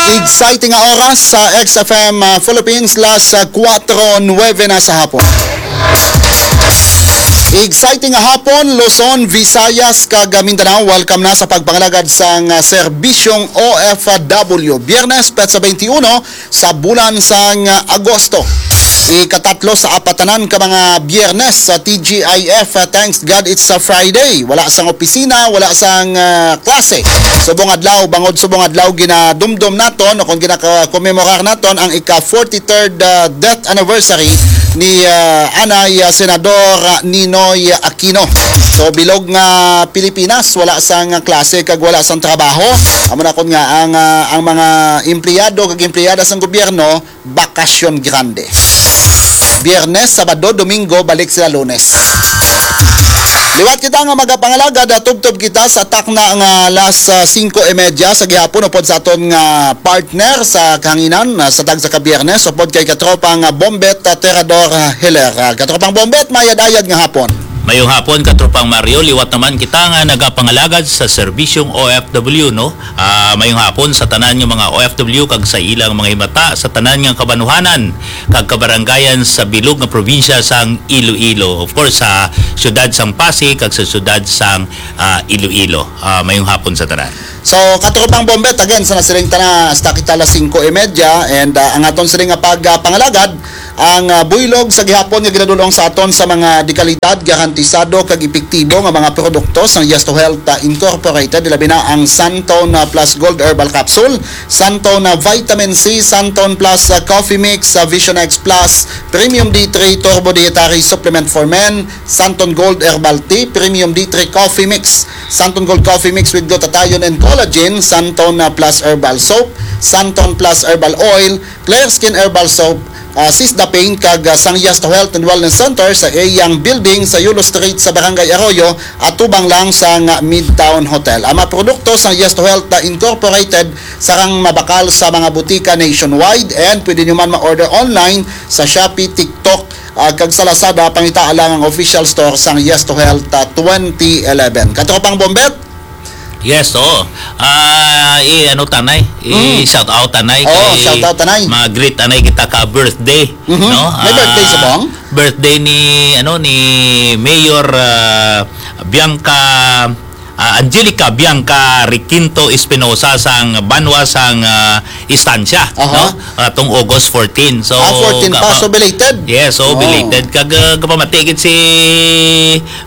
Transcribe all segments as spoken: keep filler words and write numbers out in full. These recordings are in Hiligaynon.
Exciting nga oras sa X F M, ah, Philippines, las, ah, kuwatro nuwebe na sa hapon. Exciting nga hapon, Luzon, Visayas, kag, ah, Mindanao. Welcome na sa pagpangalagad sang, ah, serbisyong O F W. Biyernes, petsa twenty-one sa bulan sang, ah, Agosto. Ikatatlo sa apatanan ka mga Biyernes sa T G I F. Ah, thanks God it's a Friday. Wala sang opisina, wala sang, ah, klase. Subong adlaw, bangod subong adlaw ginadumdom naton o kung ginaka-commemorar naton ang ika forty-third, ah, death anniversary ni, ah, anay, ah, Senador, ah, Ninoy Aquino. So, bilog nga Pilipinas, wala sang klase kag wala sang trabaho. Amo na kon nga ang, ah, ang mga empleyado kag empleyada sang gobyerno, bakasyon grande. Biyernes, Sabado, Domingo, balik sila Lunes. Liwat kita nga magapangalagad, ah, tubtob kita sa takna nga las, ah, singko y medya sa gihapon upod sa aton nga partner sa kahanginan, ah, sa tagsa ka Biyernes, upod kay katropang, ah, Bombet, ah, Terador, ah, Hiler. Ah, katropang Bombet, mayad-ayad nga hapon. Mayong hapon, katropang Mario. Liwat naman kita nga nagapangalagad sa serbisyong O F W, no? Ah, mayong hapon sa tanan nga mga O F W kag sa ilang mga himata sa tanan nga kabanuhanan kag kabaranggayan sa bilog nga probinsya sang Iloilo. Of course, sa siyudad sang Pasig kag sa siyudad sang, ah, Iloilo. Ah, mayong hapon sa tanan. So, katropang Bombet, again, sa nasiling ta na, hasta kita alas singko y medya, and, ah, ang aton siling nga pagpangalagad, ang, ah, buylog sa gihapon nga ginadulong sa aton sa mga dekalidad, garantisado kag epektibo nga mga produkto sang Yes to Health, ah, Incorporated, labi na ang Santon, ah, Plus Gold Herbal Capsule, Santon, ah, Vitamin C, Santon Plus, ah, Coffee Mix, ah, Vision X Plus, Premium D three Turbo Dietary Supplement for Men, Santon Gold Herbal Tea, Premium D three Coffee Mix, Santon Gold Coffee Mix with Glutathione and Collagen, Santon, ah, Plus Herbal Soap, Santon Plus Herbal Oil, Clear Skin Herbal Soap, ah, Sisda Pain, kag, ah, sang Yes to Health and Wellness Center sa iyang building sa Yulo Street sa Barangay Arroyo, atubang lang sang, ah, Midtown Hotel. Ang mga produkto sang Yes to Health, ah, Incorporated sarang mabakal sa mga butika nationwide, and pwede nyo man ma-order online sa Shopee, TikTok, ah, kag sa Lazada. Pangitaa lang ang official store sang Yes to Health, ah, twenty eleven. Katropang Bombet? Yes, oo. Ah, i-, ano tanay? Mm. I-shout out tanay Oo, kay shout out tanay. Ma-greet tanay kita ka birthday, Mhm. no? May birthday Ah, subong? Birthday ni, ano, ni Mayor, ah, Bianca, ah, Angelica Bianca Requinto Espinosa sang Banwa sang, ah, Estancia, Aha. no? Atong August fourteen. So, Ah, fourteen pa, ka-, so belated. Yes, so Oo. belated. Kag, ah, kapamati gid si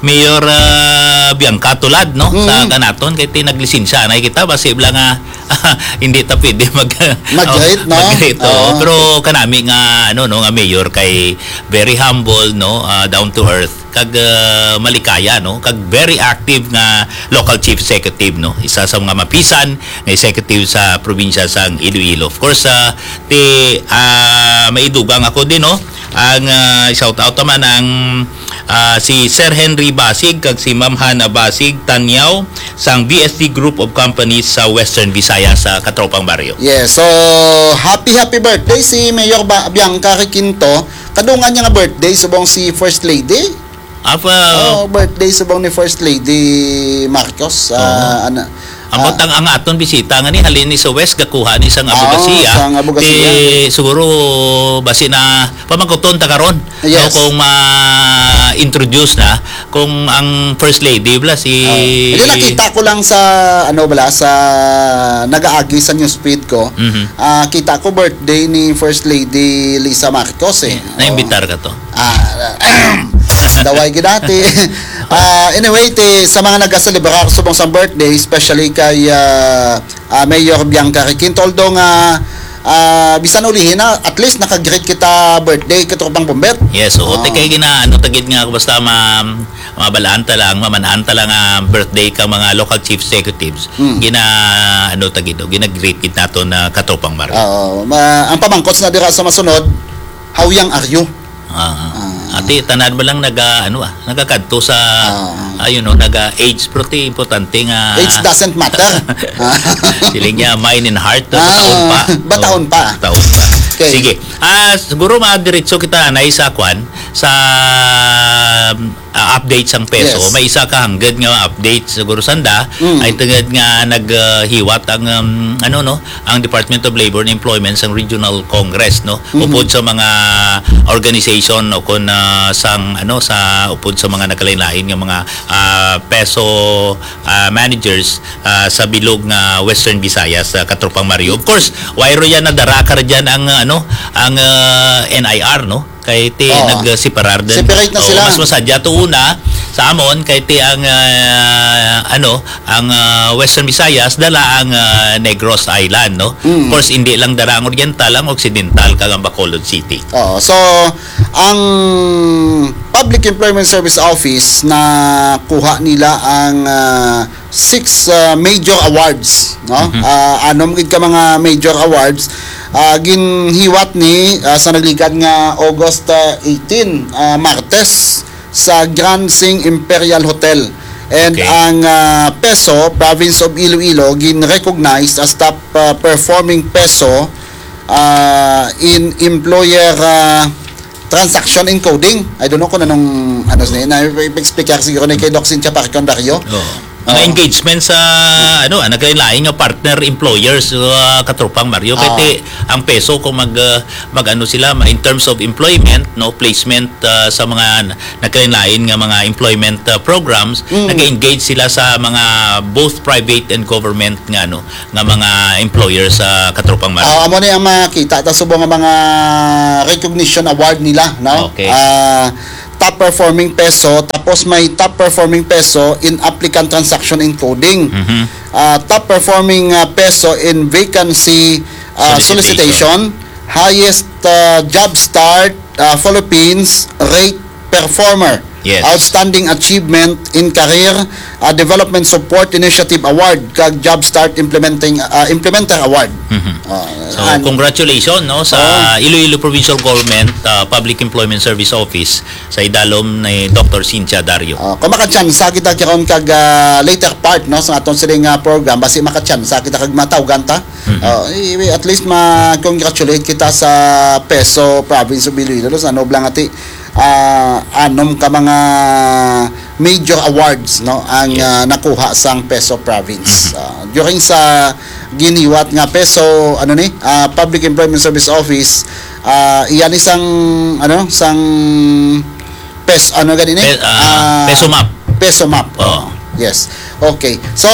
Mayor, ah, Bianca Tulad, no? Sa Mm. kanaton, kay ti naglisensya na kita, basi bala nga hindi ta pwede mag-, Mag-greet, no? mag-greet, oo. Oo. Pero kanami nga, ano, no, nga mayor kay very humble, no? Ah, down to earth. Kag, ah, malikaya, no? Kag very active nga local chief executive, no? Isa sa mga mapisan nga executive sa probinsya sang Iloilo. Of course, ah, ti, ah, maidugang ako din, no? Ang, ah, shout out naman ang, ah, si Sir Henry Basig kag si Ma'am Hana Basig Tanyaw sang B S D Group of Companies sa Western Visayas, sa Katropang Baryo. Yes, so happy, happy birthday si Mayor Ba-, Bianca Requinto. Kadungan niya nga birthday subong si First Lady. Apa? Oh, birthday subong ni First Lady Marcos. Ah, Oo. ana, Ambot ah. ang, ang aton bisita nga ni halin ni sa West, gakuha ni sang Oo, abogasiya. sang abogasiya. Ti, siguro, basi na pamangkuton ta karon, Yes. no, kung ma-introduce na, kung ang First Lady bala si Oo. Hindi, nakita ko lang sa, ano bala, sa nagaagi sa newsfeed ko. Mhm. Ah, kita ko birthday ni First Lady Lisa Marcos, eh. Eh, naimbitar ka to? Ah, daway gid dati. Ah, anyway, ti, sa mga nagaselebrar subong sa birthday, especially kay, ah, ah, Mayor Bianca Requinto, although nga, ah, bisan ulihi na, at least naka-greet kita birthday, Katropang Bombet. Yes, oo. Oo. Ti kay gina-, ano, tagid nga, basta ma-, mabalaan ta lang, mamanaan ta lang ang birthday kang mga local chief executives. Mm. Gina-, ano, tagid, o, gina-greet gid nato na Katropang Mario. Oo. Ma-, ang pamangkot na dira sa masunod, how young are you? Ah. Ah. Ati, tanan mo lang naga, ano, ah, nagakadto sa, Ah. ah, you know, naga-age, pero ti importante nga Age doesn't matter. Siling niya, mind and heart, Ah, bataon pa. bataon Oh, pa. bataon pa. Okay. Sige. Ah, siguro madiretso kita, anay, sa kwan. sa, ah, update sang peso, Yes. may isa ka hangad nga update siguro sanda, Mm. ay tungod nga naghiwat ang, um, ano, no, ang Department of Labor and Employment sang Regional Congress, no, Mhm. upod sa mga organization o kon, ah, sang, ano, sa upod sa mga nagkalain-lain nga mga, ah, peso, ah, managers, ah, sa bilog nga Western Visayas, ah, Katropang Mario. Of course, wayro yan na dara ka ra dyan ang, ano, ang, ah, N I R, no? Kay ti Oo. nagseparar din. Separate na Oo, sila. Mas masadya to una sa amon kay ti ang, ah, ano, ang, ah, Western Visayas dala ang, ah, Negros Island, no? Mm. Of course, hindi lang dara ang Oriental, ang Occidental, kag ang Bacolod City. Oo. So, ang Public Employment Service Office na kuha nila ang, ah, six, ah, major awards, no? Mhm. Ah, anom gid ka mga major awards, ah, ginhiwat ni, ah, sa nagligad nga August, ah, eighteen, ah, Martes, sa Grand Sing Imperial Hotel. And Okay. ang, ah, PESO, Province of Iloilo, gin-recognize as top, ah, performing PESO, ah, in employer, ah, transaction encoding. I don't know kung anong, ano, na, na, explicar siguro ni kay Doc Cynthia Parcon Dario. Oo. Mga Oo. engagement sa, ano, ah, naglain-lain nga partner employers, ah, Katropang Mario. Kay Oo. ti, ang PESO kung mag, ah, mag-ano sila, ma-, in terms of employment, no, placement, ah, sa mga n-, naglain-lain nga mga employment, ah, programs, Mm. nag-engage sila sa mga both private and government nga, ano, nga mga employers sa Katropang Mario. Ah, amo ni ang makita ta subong nga mga recognition award nila, no? Okay. Ah, top performing PESO, tapos may top performing PESO in applicant transaction encoding. Mhm. Ah, top performing, ah, PESO in vacancy, ah, Solicitation. solicitation. Highest, ah, job start, ah, Philippines rate performer. Yes. Outstanding Achievement in Career, ah, Development Support Initiative Award, kag Job Start Implementing, ah, Implementer Award. Mhm. Ah, So, an- congratulations, no, sa Oh. Iloilo Provincial Government, ah, Public Employment Service Office sa idalom ni Doctor Cynthia Dario. Ah, kung makatsansa kita karon kag, ah, later part, no, sa aton sining, ah, program, basi makatsansa kita kag matawgan ta. Mhm. Ah, i-, at least ma-congratulate kita sa PESO Province of Iloilo, sa ano lang ati, ah, anom ka mga major awards, no, ang, Yes. ah, nakuha sang PESO Province. Mhm. Ah, during sa ginhiwat nga PESO, ano ni, ah, Public Employment Service Office, ah, iya ni sang, ano, sang PES-, ano gani ni? Pe-, ah, Ah, PESO map. PESO map. Oo. Yes. Okay. So,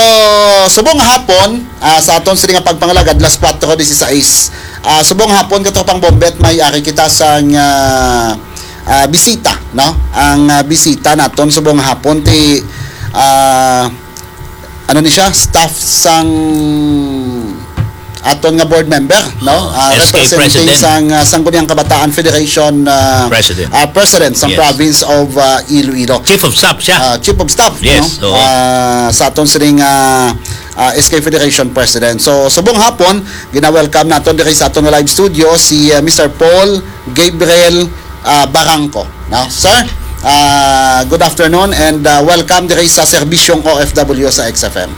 subong nga hapon, ah, sa aton sini nga pagpangalagad, las kuwatro disisais. Ah, subong nga hapon, Katropang Bombet, may ari kita sang, ah, ah, bisita, no? Ang, ah, bisita naton subong nga hapon ti, ah, ano ni siya? Staff sang aton nga board member, no? Oo. Ah, S K representing president. sang, ah, Sangguniang Kabataan Federation, ah, President. ah, president sa Yes. province of, ah, Iloilo. Chief of staff siya. Ah, chief of staff, Yes, no? oo. Ah, sa aton sining, ah, ah, S K Federation President. So, subong hapon, gina-welcome naton diri sa aton nga live studio si, ah, Mister Paul Gabriel, ah, Barangco, no? Sir, ah, good afternoon and, ah, welcome diri sa serbisyong O F W sa X F M.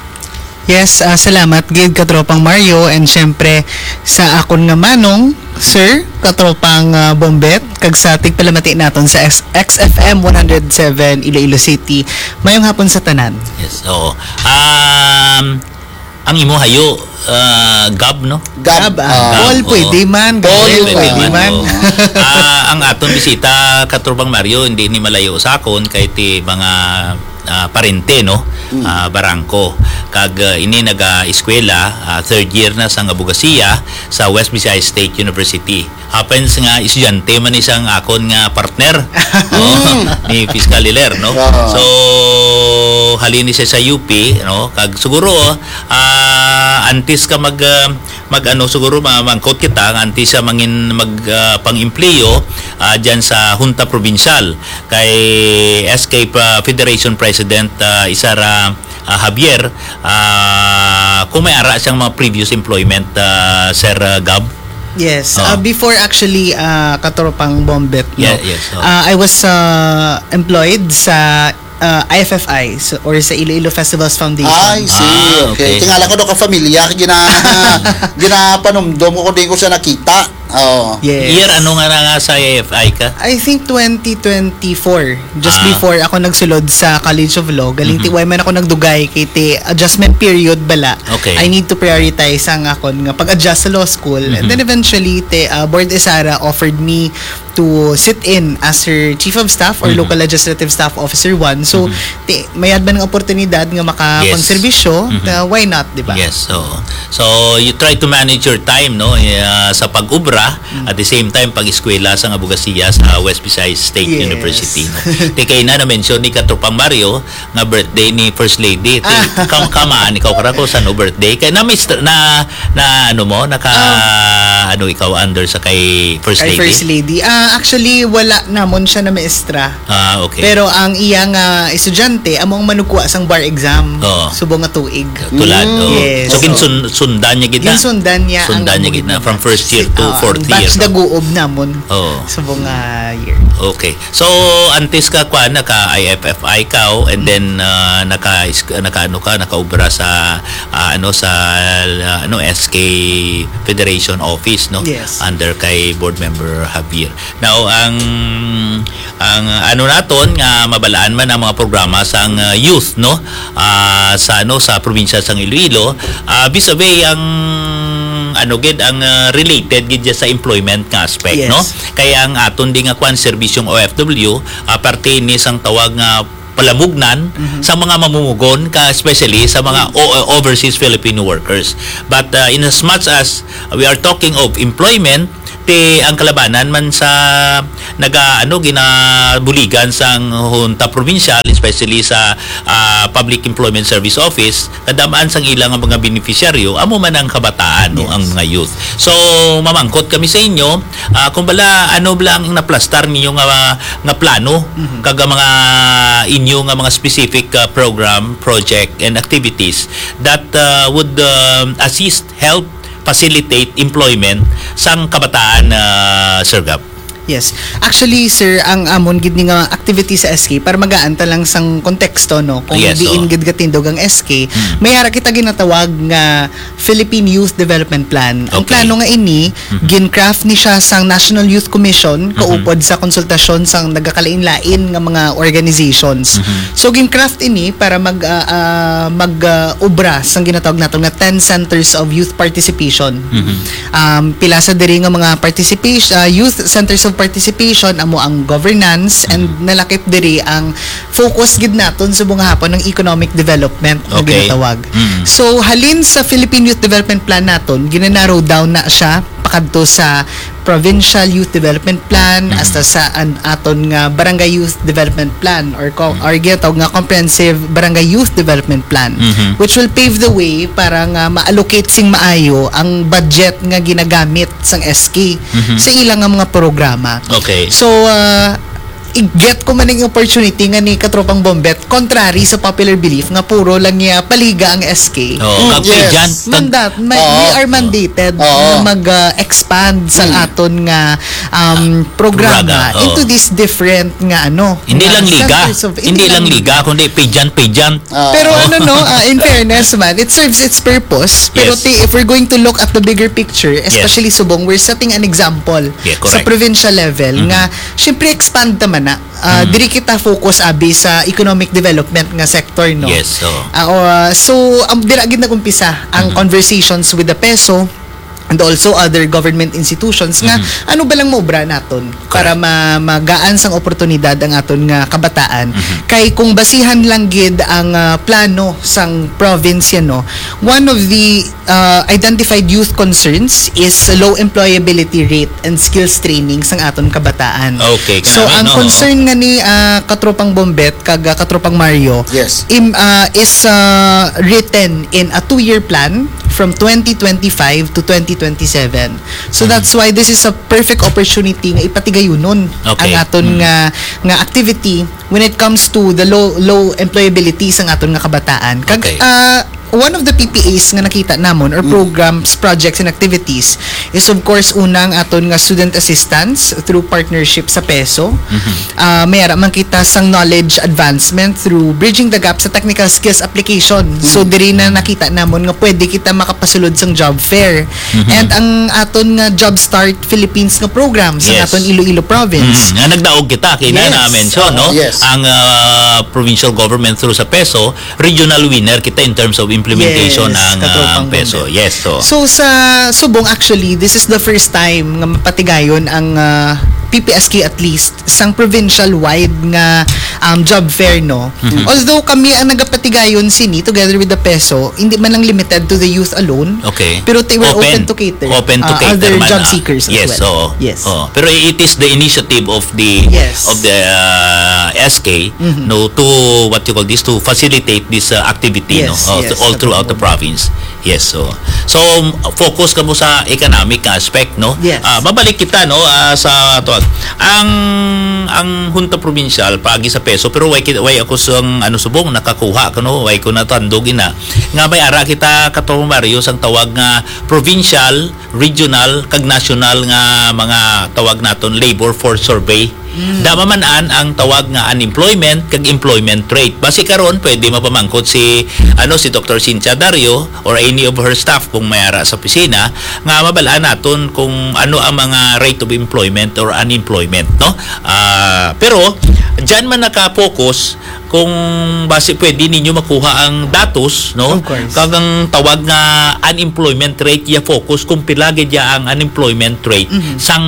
Yes, ah, salamat gid, Katropang Mario, and syempre sa akon nga manong, Sir, Katropang, ah, Bombet, kag sa tigpalamati naton sa X-, X F M one hundred seven Iloilo City. Mayong hapon sa tanan. Yes, oo. Um, ang imo hayo, ah, Gab, no? Gab, Gab, ah, ah, Paul, oo. pwede man. Paul, Gabriel, pwede pwede man, man. oo. Ah, ang aton bisita, Katropang Mario, hindi ni malayo sa akon, kay ti mga, ah, parente, no? Mm. Ah, Barangco. Kag, ah, ini naga-eskwela, ah, third year na sa abogasiya sa West Visayas State University. Happens nga estudyante man ni sang akon nga partner, no? Mm. Ni Fiscal Hilaire, no? Oo. So, halin ni siya sa U P, no? Kag siguro, ah, antes ka mag, ah, mag, ano, siguro ma-, mangkot kita, nga antes siya mangin-, mag, ah, pang-empleo, ah, dyan sa Junta Provincial, kay S K pa-, Federation President, ah, Isara, ah, Javier, ah, kung may ara siyang mga previous employment, ah, Sir, ah, Gab? Yes. Oo. Ah, before actually, ah, Katropang Bombet, no? Yeah, yes, oo. Ah, I was, ah, employed sa, ah, I F F I, so, or sa Iloilo Festivals Foundation. I see. Ah, Okay. okay. Tingala ko daw ka familiar, gina-, ginapanumdom ko kung di ko siya nakita. Oo. Yes. Year ano nga na nga sa I F I ka? I think twenty twenty-four, just Ah. before ako nagsulod sa College of Law, galing Mhm. ti way man ako nagdugay kay ti adjustment period bala. Okay. I need to prioritize ang akon nga pag-adjust sa law school. And Mhm. then eventually, ti, ah, Board Esara offered me to sit in as her chief of staff or Mhm. local legislative staff officer one. So, Mhm. ti, mayad man nga oportunidad nga Yes. makakonserbisyo, Mhm. ah, why not, di ba? Yes, oo. So, you try to manage your time, no? Ah, sa pag-ubra, Mm. at the same time, pag-eskwela sa abogasiya sa West Visayas State Yes. University, no? Ti kay na na-mention ni Katropang Mario nga birthday ni First Lady. Ti, Ah. kam-, kamaan ikaw kara ko sa no birthday. Kay na, mister, na, na ano mo, naka, Ah. ano ikaw under sa kay First Kay Lady? First Lady. Ah, actually, wala namon siya na maestra. Ah, okay. Pero ang iya nga estudyante, amo ang manugkuha sang bar exam. Oo. Subong nga tuig. Tulad, Mm. oh. Yes. So, So, ginsun-, sundan niya gid na? Ginsundan niya ang Sundan niya amo gid gid na, na. from first year to Oo, ang fourth batch year, no? daguob namon. Oo. Subong nga year. Okay. So, antes ka, kwan, naka I F F I ka, oh, and then, ah, naka, naka, ano ka, nakaubra sa, ah, ano, sa, ah, ano, S K Federation Office, no? Yes. Under kay Board Member Javier. Now, ang, ang ano naton nga mabalaan man ang mga programa sang, ah, youth, no? Ah, sa, ano, sa probinsya sang Iloilo, ah, vis-a-vis ang, ano gid, ang, ah, related gid dyan sa employment nga aspect, Yes. no? Kaya ang aton di nga kwan, serbisyong O F W, ah, parte ni sang tawag nga palamugnan Mhm. sa mga mamumugon, ka, especially sa mga o-, overseas Filipino workers. But, uh, in as much as we are talking of employment, ti ang kalabanan man sa naga, ano, ginabuligan sang Hunta Provincial, especially sa, ah, Public Employment Service Office, kadamaan sang ila nga mga beneficiaryo, amo man ang kabataan, no, Yes. ang mga youth. So, mamangkot kami sa inyo, ah, kung bala, ano bala ang naplastar ninyo nga, nga plano, Mhm. kag ang mga inyo nga mga specific, ah, program, project, and activities that, ah, would, um, assist, help, facilitate employment sang kabataan, ah, Sir Gab? Yes. Actually, sir, ang amon gid ni nga activity sa S K, para magaan ta lang sang konteksto, no? Kung Yes, diin oo. gid gatindog ang S K, Hmm. may ara kita ginatawag nga Philippine Youth Development Plan. Ang Okay. plano nga ini, Mhm. gin-craft ni siya sang National Youth Commission, Mhm. kaupod sa konsultasyon sang nagakalain-lain nga mga organizations. Mhm. So, gin-craft ini para mag, ah, ah, mag, ah, obra sang ginatawag nato nga ten centers of youth participation. Mhm. Um, pila sa diri nga mga participation, ah, youth centers of participation, amo ang governance, and Mhm. nalakip diri ang focus gid naton sa mga hapon ng economic development nga Okay. ginatawag. Mhm. So, halin sa Philippine Youth Development Plan naton, gina-narrow down na siya pakadto sa Provincial Youth Development Plan, Mhm. hasta sa an-, aton nga Barangay Youth Development Plan or co-, Mhm. or ginatawag nga Comprehensive Barangay Youth Development Plan, Mhm. which will pave the way para nga ma-allocate sing maayo ang budget nga ginagamit sang S K Mhm. sa ilang nga mga programa. Okay. So, ah, i-get ko man ang opportunity nga ni Katropang Bombet, contrary sa popular belief nga puro lang niya paliga ang S K. Oo, Mm, kag yes. pageant, kag Mandat, may, Oo. we are mandated Oo. na mag, ah, expand sa Mm. aton nga, um, programa Programa, oo. into this different nga ano, Hindi nga lang liga. centers of, Hindi hindi lang lang liga, kundi pageant, pageant. Oo. Pero ano, no, ah, in fairness man, it serves its purpose. Pero Yes. ti-, if we're going to look at the bigger picture, Yes. especially subong, we're setting an example Yeah, sa correct. provincial level Mhm. nga, syempre, expand naman na. Ah, Mhm. diri kita focus abi sa economic development nga sector, no? Yes, oo. Ah, o, ah, so, um, dira gid nag-umpisa ang Mhm. conversations with the PESO and also other government institutions nga Mhm. ano ba lang maubra naton para Correct. ma-, magaan sang oportunidad ang aton nga kabataan. Mhm. Kay kung basihan lang gid ang, ah, plano sang province, no, one of the, ah, identified youth concerns is low employability rate and skills training sang aton kabataan. Okay, So, kanami, ang no? concern nga ni, ah, Katropang Bombet kag, ah, Katropang Mario Yes. im-, ah, is, ah, written in a two-year plan from twenty twenty-five to twenty twenty-seven. So, Mm. that's why this is a perfect opportunity nga ipatigayunon Okay. ang aton Mm. nga, nga activity when it comes to the low, low employability sang aton nga kabataan. Kag, Okay. ah, One of the P P As nga nakita namon, or programs, projects, and activities, is of course una ang aton nga student assistance through partnership sa PESO. Ah, may ara man kita sang knowledge advancement through bridging the gap sa technical skills application. So diri na nakita namon nga pwede kita makapasulod sang job fair. And ang aton nga Job Start Philippines nga program sa Yes. aton Iloilo province. Mm, nga nagdaog kita, kay na Yes. na-mention, no? Oo, yes. Ang, ah, provincial government through sa PESO, regional winner kita in terms of implementation Yes, ng, ah, katropang PESO. Yes, so. So, sa subong, actually, this is the first time nga mapatigayon ang, ah, P P S K, at least sang provincial wide nga, um, job fair, no? Although kami ang nagapatigayon sini together with the PESO, hindi man lang limited to the youth alone, Okay. pero they were open, Open. to cater, Open to uh, cater other man, job ah. seekers as Yes, well. oo. Yes. Oo. Pero it is the initiative of the Yes. of the, uh, S K, no, to, what you call this, to facilitate this, uh, activity, no, Yes, uh, yes, all throughout the Katrupang Bombe. province. Yes, so, so, um, focus kamo sa economic aspect, no? Yes. Ah, mabalik kita, no, ah, sa to. Ang, ang Junta Provincial, paagi sa PESO, pero way ki-, way ako sang, ano, subong, nakakuha ko, no? Way ko natandog ina. Nga may ara kita, Katropang Mario, sang tawag nga provincial, regional, kag national nga mga tawag naton labor force survey. Mm. Da maman-an ang tawag nga unemployment kag employment rate. Basi karon, pwede mapamangkot si, ano, si Doctor Cynthia Dario or any of her staff kung may ara sa opisina, nga mabal-an naton kung ano ang mga rate of employment or unemployment, no? Ah, pero diyan man naka-focus kung basi pwede ninyo makuha ang datos, no? Of course. Kag ang tawag nga unemployment rate, iya focus kung pila gid ya ang unemployment rate Mhm. sang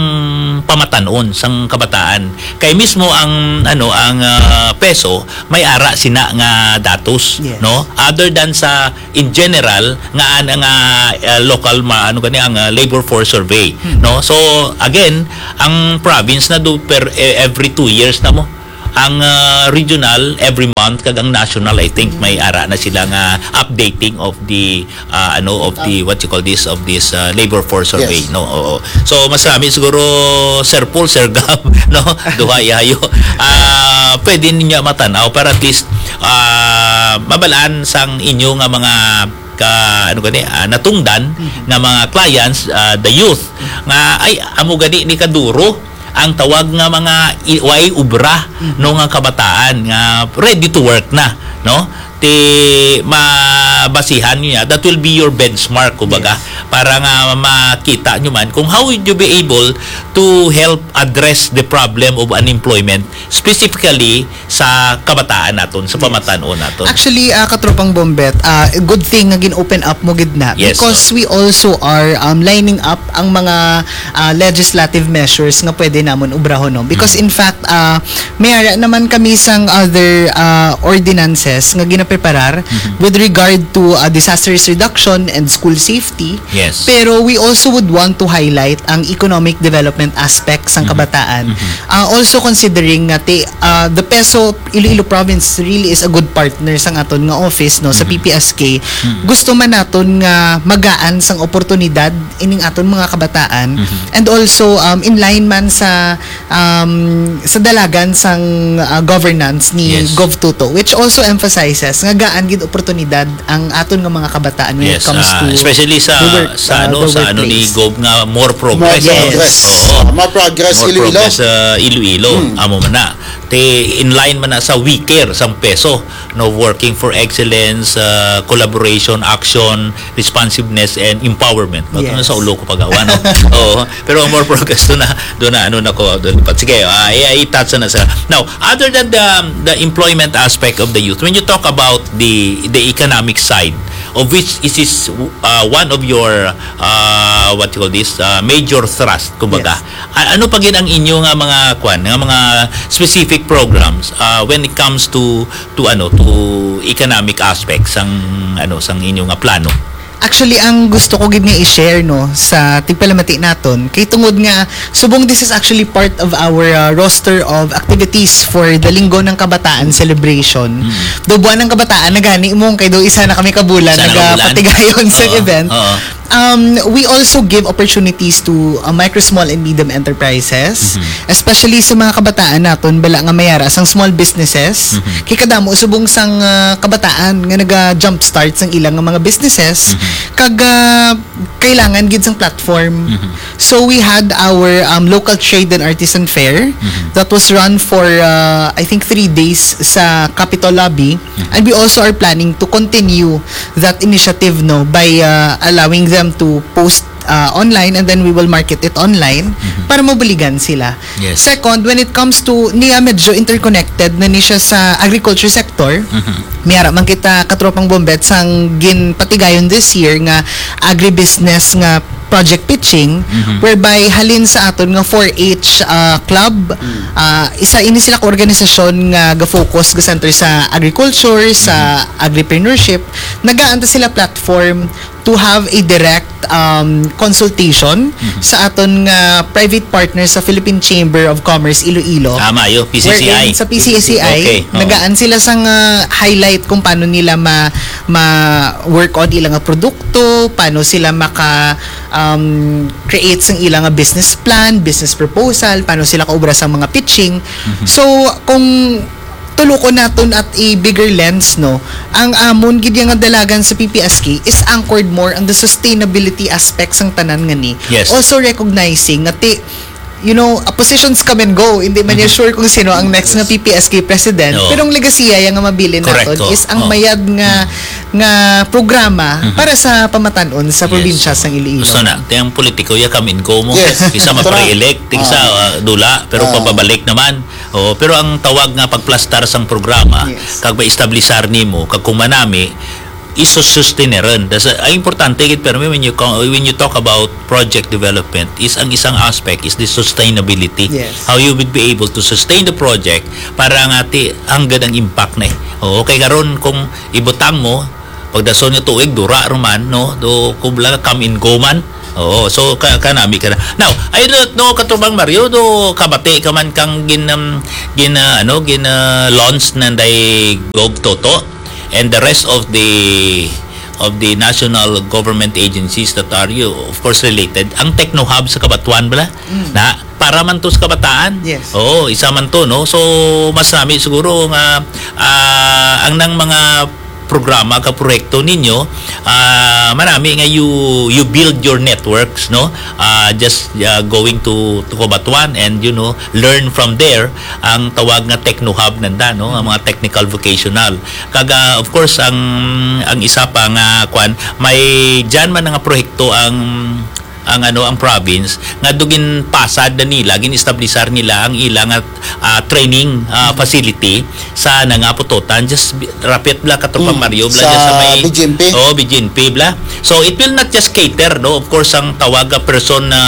pamatan-on, sang kabataan. Kay mismo ang, ano, ang, ah, PESO may ara sina nga datos, Yes. no? Other than sa in general nga an-, nga, ah, local ma-, ano gani ang, ah, labor force survey, Hmm. no? So again, ang province na do per, eh, every two years na mo ang, ah, regional every month, kag ang national, I think, may ara na sila nga updating of the, ah, ano, of the, what you call this, of this, ah, labor force survey, Yes. no? Oo. So mas rami siguro, Sir Paul, Sir Gab, no? Duha yayo. Ah, pwede ninyo matan-aw para at least, ah, mabalaan sang inyo nga mga ka, ano gani, ah, natungdan Mhm. nga mga clients, ah, the youth, nga ay amo gani ni kaduro ang tawag nga mga i-, way ubra, Mhm. no, nga kabataan nga ready to work na, no? Ti mabasihan niya, that will be your benchmark, kumbaga, Yes. para nga makita nyo man kung how would you be able to help address the problem of unemployment, specifically sa kabataan naton, sa Yes. pamatan-on naton. Actually, ah, Katropang Bombet, ah, good thing nga gin-open up mo gid na, Yes, because no? we also are, um, lining up ang mga, ah, legislative measures nga pwede namon ubrahon, no? Because Mhm. in fact, ah, may ara naman kami sang other, ah, ordinances nga ginapreparar Mhm. with regard to, ah, disaster risk reduction and school safety. Yes. Pero we also would want to highlight ang economic development aspect sang Mhm. kabataan. Mhm. Ah, also considering nga ti-, ah, the PESO Iloilo Province really is a good partner sang aton nga office, no, sa Mhm. P P S K. Mhm. Gusto man naton nga magaan sang oportunidad ining aton mga kabataan. Mhm. And also, um, in line man sa, um, sa dalagan sang, ah, governance ni Yes. Gov Toto, which also emphasizes nga gaan gid oportunidad ang aton nga mga kabataan when it Yes, comes ah, to especially sa, the work, sa ah, ano, the sa ano ni workplace. Gov nga more progress, More no? progress. Oo. Ah, more progress, More Iloilo. progress sa Iloilo. Hmm. Amo man na. Te, in line man na sa wiker sang PESO, no, working for excellence, ah, collaboration, action, responsiveness, and empowerment. Ba't Yes. na sa ulo ko pagawa, no? Oo. Pero ang more progress, doon na, doon na, ano na ko, doon pa. Sige, ah, i-, i-touch na sa. Now, other than the, the employment aspect of the youth, when you talk about the, the economic side, of which is, is, uh, one of your, uh, what you call this, uh, major thrust, kumbaga. Yes. A-, ano pa gid ang inyo nga mga, kwan, nga mga specific programs, uh, when it comes to, to, ano, to economic aspects sang, ano, sang inyo nga plano? Actually, ang gusto ko gid nga i-share, no, sa tigpalamati naton, kay tungod nga subong this is actually part of our, uh, roster of activities for the Linggo ng Kabataan celebration. Mm. Do Buwan ng Kabataan na gani mo, kay do isa na kami ka bulan Isa na ka bulan. nagapatigayon sa Oo, event. oo. Um, we also give opportunities to, uh, micro, small, and medium enterprises, Mhm. especially sa mga kabataan naton, bala nga mayara sang small businesses. Mhm. Kay kadamo subong sang, uh, kabataan nga naga-jumpstart sang ilang nga mga businesses, Mhm. kag, uh, kailangan gid sang platform. Mhm. So we had our, um, local trade and artisan fair Mhm. that was run for, uh, I think, three days sa Capitol Lobby. Mhm. And we also are planning to continue that initiative, no, by, uh, allowing them to post, uh, online, and then we will market it online Mhm. para mabuligan sila. Yes. Second, when it comes to, niya medyo interconnected na ni siya sa agriculture sector. Mhm. Miyara man kita, katropang Bombet, sang ginpatigayon this year nga agribusiness nga project pitching, Mhm. whereby halin sa aton nga four H, ah, club, Mm. ah, isa ini sila ka organisasyon nga ga-focus, ga-center sa agriculture, sa Mhm. agripreneurship. Nagaanta sila platform to have a direct, um, consultation Mhm. sa aton nga private partner sa Philippine Chamber of Commerce Iloilo. Ah, maayo, P C C I. Wherein sa P C C I, Okay, oo. nagaan sila sang, ah, highlight kung paano nila ma-, ma-work on ilang nga produkto, paano sila maka, um, create sang ilang nga business plan, business proposal, paano sila kaubra sa mga pitching. Mhm. So, kung tulukon naton at a bigger lens, no, ang amon gid nga dalagan sa P P S K is anchored more on the sustainability aspect sang tanan nga ni. Yes. Also recognizing nga ti-, you know, uh, positions come and go. Hindi man niya Mhm. sure kung sino ang next nga P P S K president. Oo. Pero ang legasiya ya nga mabilin Correct, naton oo. is ang Oo. mayad nga, Mhm. nga programa Mhm. para sa pamatan-on sa Yes, probinsya oo. sang Iloilo. Gusto na, ti ang politiko ya come and go mo. Yes. Isa Gusto na. ma-pre-elect, isa, Ah. ah, dula, pero Ah. pababalik naman. Oo, pero ang tawag nga pagplastar sang programa, Yes. kag maestablisar nimo, kag kung manami, isusustaineron. Das-, ang importante gid, pero when you co-, when you talk about project development, is ang isang aspect is the sustainability. Yes. How you would be able to sustain the project para nga ti-, hanggang ang impact na eh. Oo, kay karon kung ibutang mo, pagdason nga tuig, dura ra man, no? Do, kubla, come and go man. Oo, so, ka-, kanami ka na. Now, I don't know, Katubang Mario, do kabati ka man kang gin, um, gin, uh, ano, gin, uh, launch nanday Gov Toto and the rest of the, of the national government agencies that are, you, of course, related. Ang Techno Hub sa Cabatuan, bala? Mm. Na, para man to sa kabataan. Yes. Oo, isa man to, no? So, mas nami siguro nga, ah, ang nang mga programa ka proyekto ninyo, ah, manami nga you, you build your networks, no? Ah, just, ah, going to, to Cabatuan and, you know, learn from there ang tawag nga Techno Hub nanda, no? Ang mga technical vocational. Kag, ah, of course, ang, ang isa pa nga, kwan, may dyan man nga proyekto ang ang, ano, ang province nga do ginpasad na nila, gin-establisar nila ang ila nga, ah, training, ah, Mm. facility sa na nga putotan. Just bi-, rapit bla, Katropang Mm. Mario, bla, Sa dyan sa may B G M P? Oo, B G M P, bla. So, it will not just cater, no? Of course, ang tawag, ah, person na,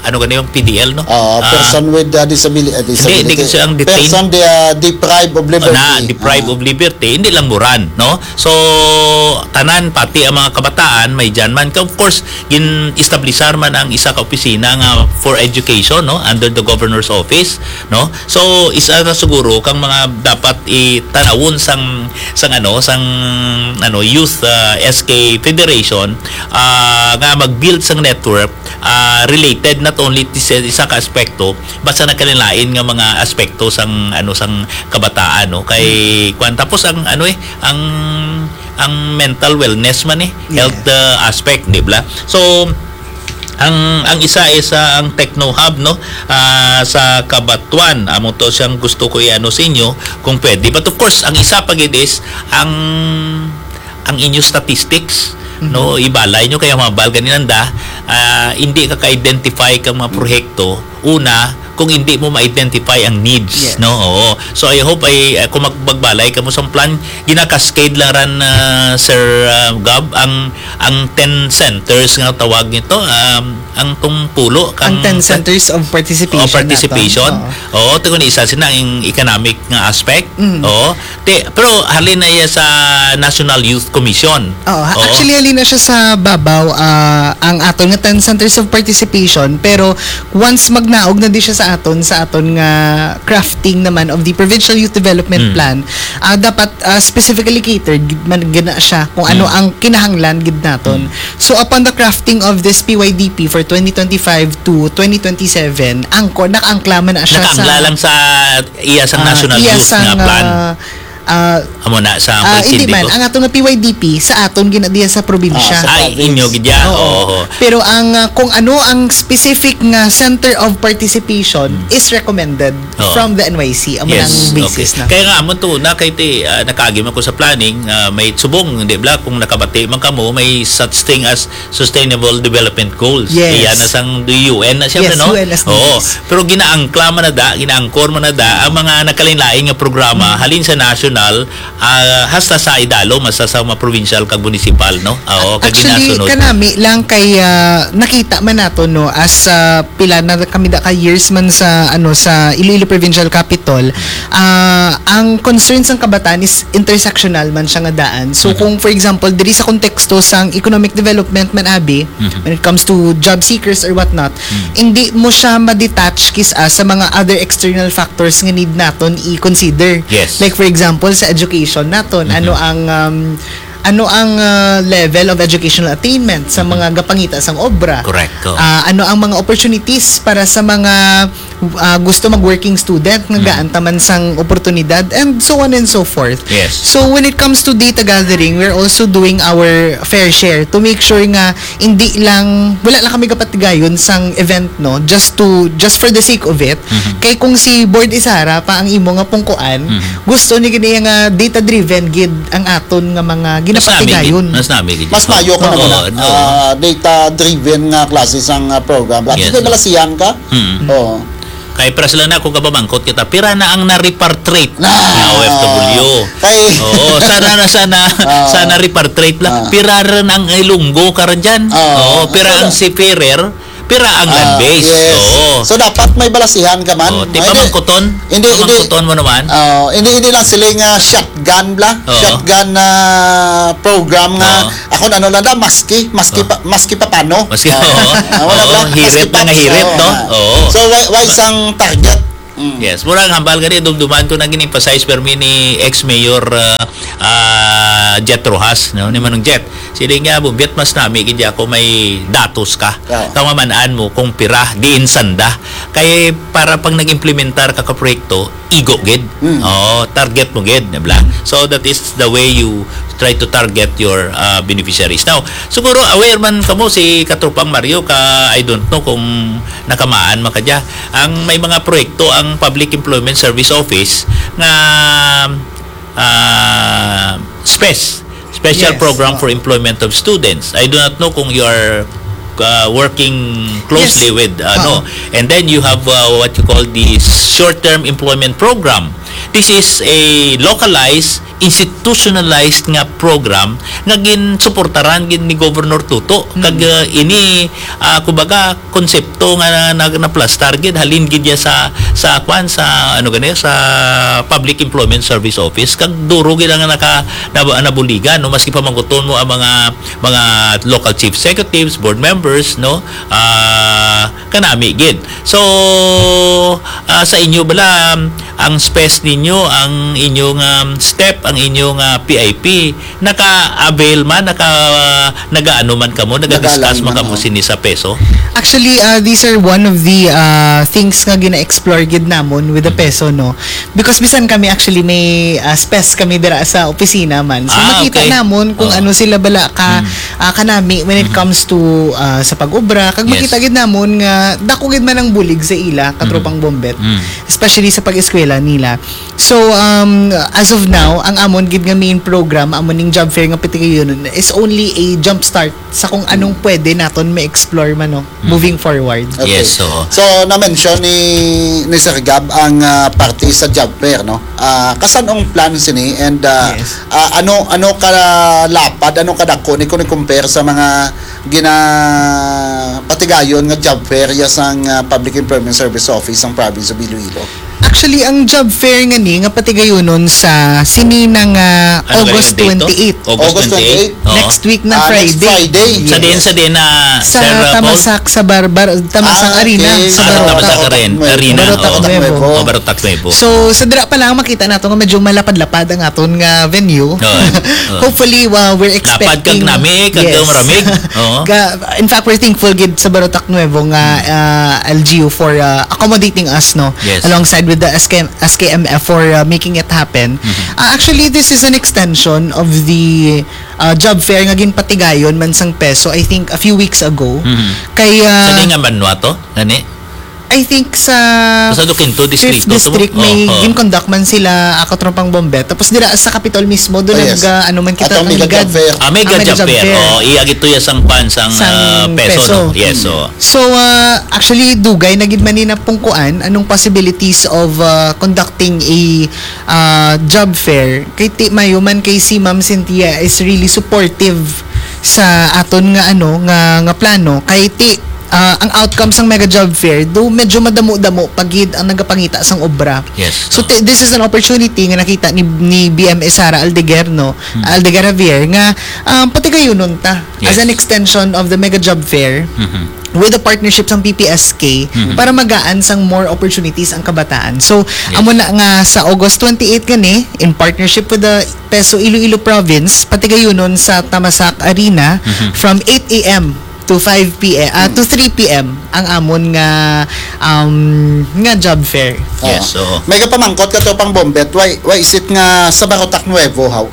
ano gani yung P D L, no? Ah, Ah, person with, ah, disabili-, ah, hindi, hindi disability. Kasi ang detained. Person de-, ah, deprived of liberty. Na, deprived Ah. of liberty, hindi lang Moran, no? So, tanan, pati ang mga kabataan, may dyan man. Of course, gin-establisar man ang isa ka opisina nga for education, no, under the governor's office, no. So, isa na siguro kang mga dapat itanawon sang, sang, ano, sang, ano, youth, ah, S K Federation, ah, nga mag-build sang network, ah, related not only to sa isa ka aspekto, basta nagkalain-lain nga mga aspekto sang, ano, sang kabataan, no. Kay, Mm. kwan, tapos ang, ano, eh, ang ang mental wellness man eh, Yes. health, uh, aspect, di ba? So, ang, ang isa is, uh, ang Techno Hub, no? Ah, sa Cabatuan, amo to siyang gusto ko i-ano sa inyo, kung pwede. But of course, ang isa pa gid is ang, ang inyo statistics, Mhm. no? Ibalay nyo kaya mga balga ni nanda, ah, hindi ka ka-identify kang mga proyekto. Una, kung hindi mo ma-identify ang needs, Yes. no? Oo. So, I hope ay, uh, kung mag-, magbalay ka mo sa plan, gina-cascade lang ran, uh, Sir, uh, Gab, ang, ang ten centers nga tawag nito, um, ang tong pulo, Ang kang ten centers of participation Oh, participation. naton. Oo. Oo, ito ni isa sina ang economic nga aspect. Mm. Oo. Te, pero halin na iya sa National Youth Commission. Oo, ha-, Oo. actually, halin na siya sa babaw, ah, ang aton nga ten centers of participation, pero once magnaog na di siya sa aton sa aton nga crafting naman of the Provincial Youth Development Mm. Plan, ah, dapat, ah, specifically catered gid man gid na siya kung ano Mm. ang kinahanglan gid naton. Mm. So, upon the crafting of this P Y D P for twenty twenty-five to twenty twenty-seven, angkor, nakaangkla man na siya Nakaangkla sa, lang sa iya sang ah, national iya youth sang, nga plan. ah, ah, Amo na sa ah, hindi Polsindiko. man. Ang ato nga P Y D P, sa aton gina diya sa probinsya. Ah, sa Ay, province. inyo gid ya. Oo. Oo. Pero ang, ah, kung ano ang specific nga center of participation Mm. is recommended Oo. from the N Y C. Amo Yes, ang basis okay. na. Kaya nga, amo to na kay ti, ah, nakaagi man ko sa planning, ah, may subong, di ba, kung nakabati man kamo, may such thing as Sustainable Development Goals. Yes. Iya na sang U N na siya, Yes, no? U N S D Gs. Oo. Pero ginaangkla man na da, ginaangkor man na da ang mga nagkalain-lain nga programa, Hmm. halin sa national, ah, hasta sa idalom, hasta sa mga provincial kag municipal, no? Oo, kag Actually, ginasunod. kanami lang kay, ah, nakita man nato, no, as, ah, pila na kami da ka years man sa, ano, sa Iloilo Provincial Capitol, ah, ang concern sang kabataan is intersectional man siya nga daan. So, Mhm. kung, for example, diri sa konteksto sang economic development man, abi, Mhm. when it comes to job seekers or whatnot, Mhm. hindi mo siya ma-detach kis-a sa mga other external factors nga need naton i-consider. Yes. Like, for example, sa education naton, Mhm. ano ang, um, ano ang, ah, level of educational attainment sa Mhm. mga gapangita sang obra? Correct, oo. Ah, ano ang mga opportunities para sa mga, ah, gusto mag-working student nga Mhm. gaan ta man sang oportunidad, and so on and so forth. Yes. So, when it comes to data gathering, we're also doing our fair share to make sure nga hindi lang, wala lang kami gapatigayon sang event, no, just to, just for the sake of it. Mhm. Kay kung si Board Isara pa ang imo nga pungkuan, Mhm. gusto ni gani nga data-driven gid ang aton nga mga Mas nami gid, ginapatigayon. mas nami gid. Mas maayo kung Oo, naguna, no. ah, data-driven nga klase sang, ah, program. At Yes, kay no. balasihan ka? Mm. Oo. Kay para sila na, kung kapamangkot kita, pira na ang na-repatriate Na. nga O F W? Kay Oo, sana na, sana, Ah. sana repatriate lang. Ah. Pira rin ang Ilonggo karon dyan? Ah, Oo, pira so ang na- seafarer? Pira ang Ah, land base? yes. Oo. So, dapat may balasihan ka man. Oo, di May ba hindi, mangkuton? hindi, hindi. Mangkuton mo naman? Ah, hindi, hindi lang sila nga shotgun bla. Oo. Shotgun na program nga Oo. ako na ano lang lang, maski, maski Oo. pa, maski pa paano. Maski, Ah, oo. ah, wala Oo, bla, maski hirit lang nga paps, hirit, oo, no? ah. Oo. So, why, why sang target? Mm. Yes, murag hambal gani, dumduman ko na gin-emphasize permi ni ex-mayor, ah, ah, Jet Rojas, no? Ni Manong Jet. Sila nga, "Bumbiat, mas nami gid ako may datos ka. Oo. Tama man-an mo kung pira, diin sanda." Kay para pag nag-implementar ka ka proyekto, igo gid. Mm. Oo, target mo gid, di ba? So that is the way you try to target your, ah, beneficiaries. Now, siguro aware man kamo si Katropang Mario ka, I don't know kung nakamaan man ka dya. Ang may mga proyekto ang Public Employment Service Office nga, ah, spes, Special Yes. Program for Employment of Students. I do not know kung you are, ah, working closely Yes. with, ano. Oo. And then you have, ah, what you call the Short-Term Employment Program. This is a localized, institutionalized nga program nga ginsuportaran gid ni Governor Toto. Mm. Kag, ah, ini, ah, kumbaga, konsepto nga na, na, naplastar gid, halin gid niya sa, sa, kwan, sa, ano gani, sa Public Employment Service Office. Kag duro gid ang naka, nab-, nabuligan, no? Maski pamangkuton mo ang mga, mga local chief executives, board members, no? Ah, kanami gid. So, ah, sa inyo bala, ang spes ninyo, ang inyong, um, step, ang inyong, ah, P I P, naka-avail man, naka-, nagaano man kamo, naga-discuss Nagalang man man, kamo oh. sini sa peso? Actually, uh, these are one of the, uh, things nga gina-explore gid namon with the Mm. peso, no? Because bisan kami actually may, uh, spes kami dira sa opisina man. So, Ah, makita okay. namon kung Oo. ano sila bala ka, Mm. uh, kanami when it Mm. comes to, uh, sa pag-obra. Kag Yes. makita gid namon nga dako gid man ang bulig sa ila, Mm. katropang Bombet. Mm. Especially sa pag-eskwela nila. So, um, as of now, ang amon gid nga main program, amo ning job fair nga patigayonon, is only a jump start sa kung anong pwede naton ma-explore man, no, Mm. moving forward. Okay. Yes, oo. So, na-mention ni, ni Sir Gab ang, ah, parte sa job fair, no? Ah, kasan-ong plan sini and, ah, Yes. ah, ano, ano ka lapad, ano ka dako ni kung i-compare sa mga ginapatigayon nga job fair ya sang, ah, Public Employment Service Office sang Province of Iloilo? Actually, ang job fair nga ni, nga patigayunon sa sini na nga Ano August gayon date to? Twenty-eight. August August twenty-eight? twenty-eight? Oo. Next week na Ah, next Friday. Friday. Sa din, Yes. sa din na Sa Sarah Paul? Tamasak, sa Bar-, Bar-, Tamasak Ah, Arena, okay. sa Ah, sa Barotac. Tamasak Aren-, Barotac Arena. Nuevo. Barotac Oo. Nuevo. Oh, Barotac Nuevo. So, sa dira pa lang makita nato nga medyo malapad-lapad ang aton nga venue. Oo. Oo. Hopefully, uh, we're Lapad kag expecting nami, kag Yes. maramig. Oo. Ga-, in fact, we're thankful gid sa Barotac Nuevo nga, Mm. uh, L G U for, uh, accommodating us, no? Yes. Alongside with the S K M, S K M F for, uh, making it happen. Mhm. Uh, actually, this is an extension of the, uh, job fair nga ginpatigayon man sang PESO, I think, a few weeks ago. Mhm. Kay, uh, Sa di nga banwa to? Gani? I think sa Sa Duquinto Fifth Distrito to? District, may Oh, oh. gin-conduct man sila, ah, Katropang Bombet. Tapos dira sa Capitol mismo, doon Oh, yes. nag, ah, ano man kita Atong mega nagligad. Job fair. Ah, mega Ah, mega job job fair. fair. Oh, iya gid to ya sang kwan, sang, Sang ah, PESO, no? PESO. Yes, Mm. oh. So, ah, actually, dugay na gid man ni napungkuan anong possibilities of, ah, conducting a, ah, job fair. Kay ti, mayo man kay si Ma'am Cynthia is really supportive sa aton nga, ano, nga, nga plano. Kay ti, ah, ang outcome sang mega job fair, do medyo madamo-damo pa gid ang nagapangita sang obra. Yes. So, Oh. ti, this is an opportunity nga nakita ni, ni B M A Sara Aldeguer, no? Hmm. Aldeguer Javier, nga, um, patigayunon ta as Yes. an extension of the mega job fair Mhm. with the partnership sang P P S K Mhm. para magaan sang more opportunities ang kabataan. So, Yes. amo na nga sa August twenty-eight gani, in partnership with the PESO Iloilo Province, patigayunon sa Tamasak Arena Mhm. from eight a m to five p m, ah, to Mm. three p m ang amon nga, um, nga job fair. Yes, Oo. oo. May kapamangkot ka to pang Bombet, why, why is it nga sa Barotac Nuevo, how?